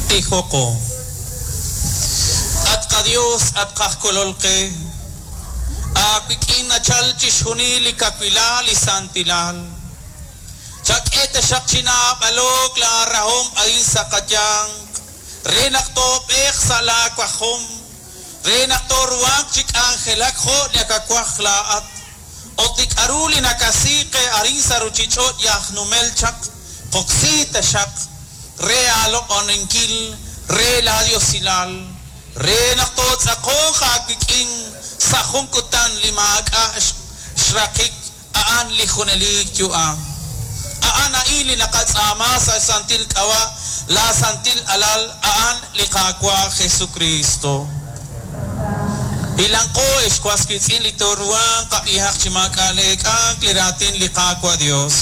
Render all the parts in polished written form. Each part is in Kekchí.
Tijoqo. At qaDios, at qaj Kolol qe, aawik'in nachal chixjunil li kawilal li santilal. Chak'e taxaq chi naab'alo'k laarahom a'in sa' qayanq, re naq toob'eeq sa' laawajom, re naq tooruhanq chi k'anjelak jo' nakawaj laa'at. Ut li k'aru li nakasi qe arin sa' ruuchich'och' yaj numel chaq, qoksi taxaq re aaloq'oninkil, re laadiosilal, re naq tootz'aqonq aawik'in sa' jun kutan li maak'a' xraqik a'an li junelik yu'am. A'an a'in li naqatz'aama sa' xsantil k'ab'a' laasantil alal a'an li Qaawa' Jesucristo. Hilanqo ex was wiitz'in li tooruhanq qab'ihaq chi maak'a' leek'ank li raatin li Qaawa' Dios.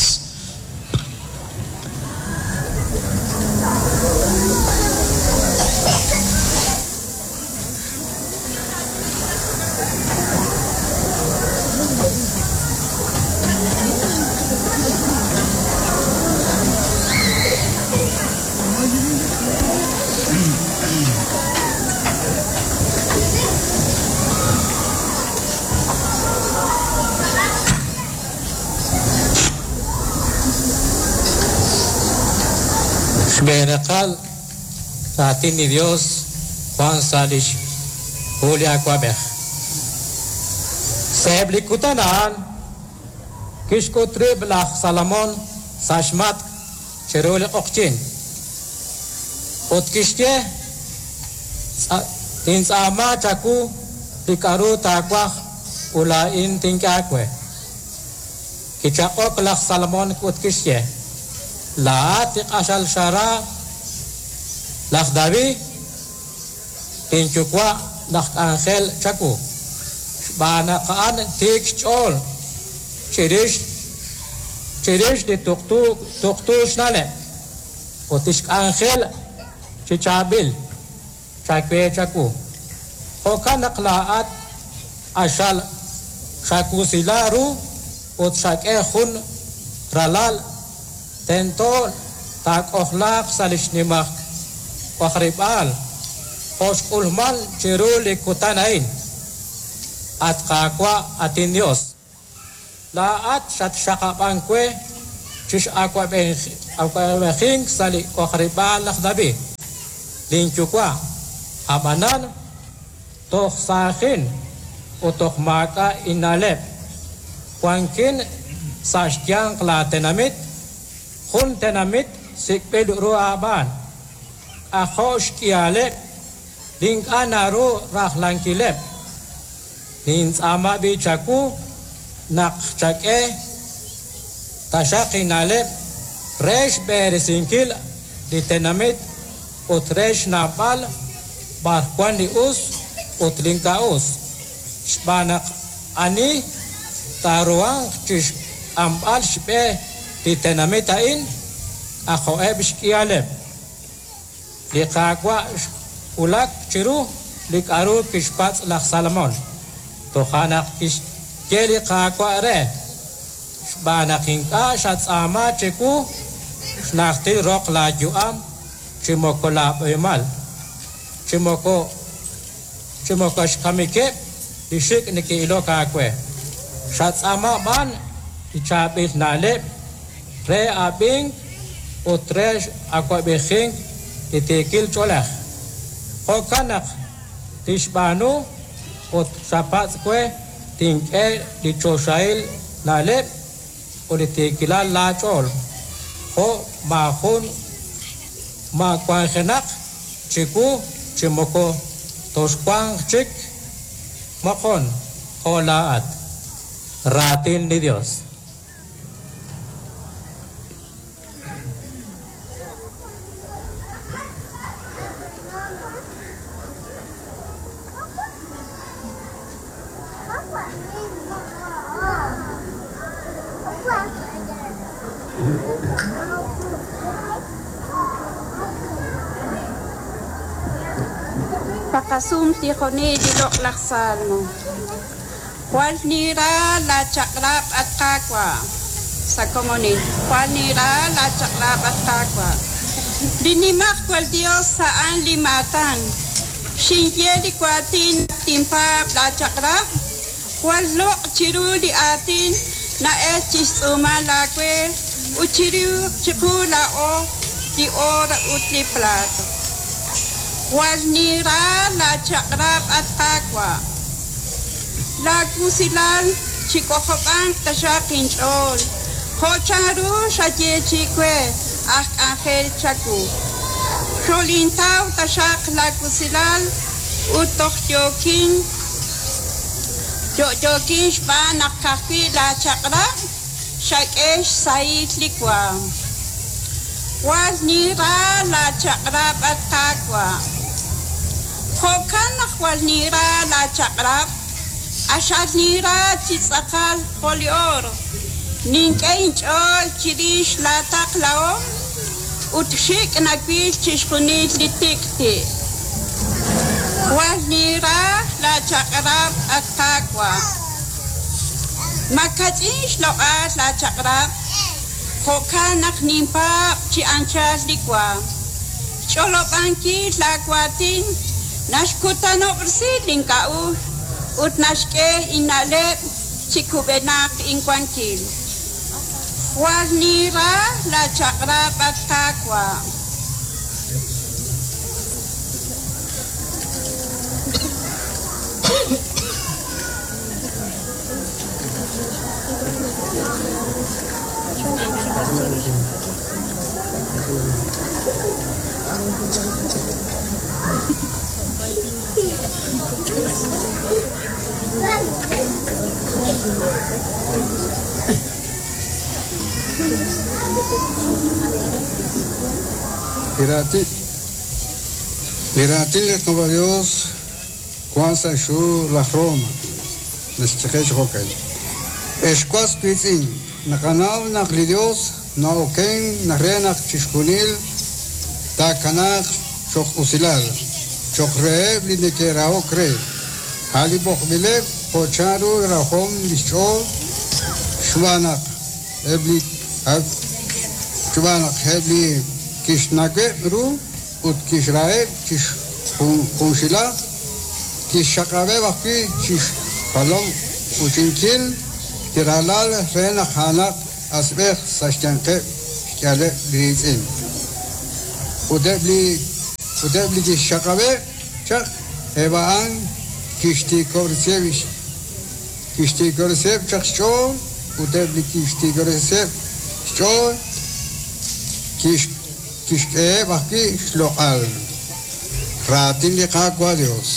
Xb'een raqal raatin li Dios wan sa' lix hu li awab'ej. Sa'eb' li kutan a'an kixk'ut rib' laj Salomón sa' xmatk' chiru li q'oqyink. Ut kixye, Tintz'aama chawu li k'aru taawaj ut laa'in tink'e aawe. Kichaq'ok laj Salomón ut kixye, Laa'at li q'axal xara laj David, linyuwa' laj k'anjel chawu, xb'aan naq a'an tiik xch'ool chirix chirix li tuqtu tuqtu xna'leb' ut lix k'anjel chi chaab'il chawe chawu. Jo'kan naq laa'at q'axal xawusila ru ut xak'e jun ralal tento taak'ojlaaq sa' li xnimaq k'ojarib'aal jo' xk'ulman chiru li kutan a'in. At Qaawa', at inDios, laa'at xatxaqab'ank we chi x'awab'ejink sa' li k'ojarib'aal laj David, linyuwa'. Ab'anan toj saajin ut toj maak'a' inna'leb'. Wankin sa' xyanq laatenamit, jun tenamit sik'b'il ru aab'aan. K'ajo' xk'ihaleb' li ink'a' naru rajlankileb'. Nintz'aama b'i' chawu naq chak'e taxaq inna'leb' re xb'eresinkil li tenamit ut re xnawb'al b'ar wan li us ut li ink'a' us. Xb'aan naq ani taaruhanq chi xk'amb'al xb'e li tenamit a'in, k'ajo'eb' xk'ihaleb'. Li Qaawa' xwulak chiru li k'aru kixpatz' laj Salomón. Toja' naq kixye li Qaawa' re, Xb'aan naq ink'a' xatz'aama chiwu xnajtil roq laayu'am chi moko laab'eemal, chi moko chi moko xkamikeb' li xik' neke'ilok aawe. Xatz'aama b'an li chaab'il na'leb' re ab'ink ut re x'awab'ejink li tiikil ch'oolej. Jo'kan naq tixb'aanu ut xapatz' we tink'e li choxahil na'leb' ut li tiikilal laach'ool, jo' maajun ma wanjenaq chiwu chi moko toxwanq chik moqon jo' laa'at. Raatin li Dios. Taqasum tijonil li loq'laj salmo. Jwal nira laachaq'rab' at Qaawa'. Sa' komonil. Jwal nira laachaq'rab' at Qaawa'. Li Nimajwal Yos a'an li maatan. Xinye li waatin naq tinpaab' laachaq'rab', jwal loq' chiru li aatin na'elk chi xtz'uumal aawe ut chiru chiqu laa'o li oor ut li plaat. Jwal ninra laachaq'rab', at Qaawa'. Laawusilal chik'ojob'anq taxaq inch'ool, jo' chanru xayeechi'i we aj k'anjel chawu. Xolintaw taxaq laawusilal ut toj yookin yo'yookin xb'aan naq ka'ajwi' laachaq'rab' xak'e xsahil li waanm. Jwal ninra laachaq'rab', at Qaawa'. Jo'kan naq jwal ninra laachaq'rab', q'axal ninra chi tz'aqal jo' li oor. Nink'e inch'ool chirix laataqlahom ut xik' nawil chixjunil li tik'ti'. Jwal ninra laachaq'rab', at Qaawa'. Makach'in xloq'al laachaq'rab', jo'kan naq ninpaab' chi anchal li waanm. Xch'olob'ankil laawaatin naxkutanob'resi link'a'uxl ut naxk'e inna'leb' chi kub'enaq inwankil. Jwal ninra laachaq'rab', at Qaawa'. Li raatin li raatin li Qaawa' Dios wan sa' xhu laj Roma naxye qe chi jo'kan, Ex was wiitz'in, naqanaw naq li Dios na'oken re naq chixjunil taakanaaq cho'q usilal, cho'q reheb' li neke'rahok re, a' li b'oqb'ileb' jo' chanru rajom li xch'ool, xb'aan naq eb' li xb'aan naq eb' li kixnaweb' ru ut kixraheb' chi junxilaj, kixxaqab'eb' ajwi' chi xjalom uuchinkil li ralal re naq a'anaq asb'ej sa' xyanqeb' xk'ihaleb' li riitz'in. Ut eb' li ut eb' li kixxaqab'eb' chaq, eb' a'an kixtiikob'resiheb' kixtiikob'resiheb' chaq xch'ool ut eb' li kixtiikob'resiheb' xch'ool kixk'eheb' ajwi' xloq'al. Raatin li Qaawa' Dios.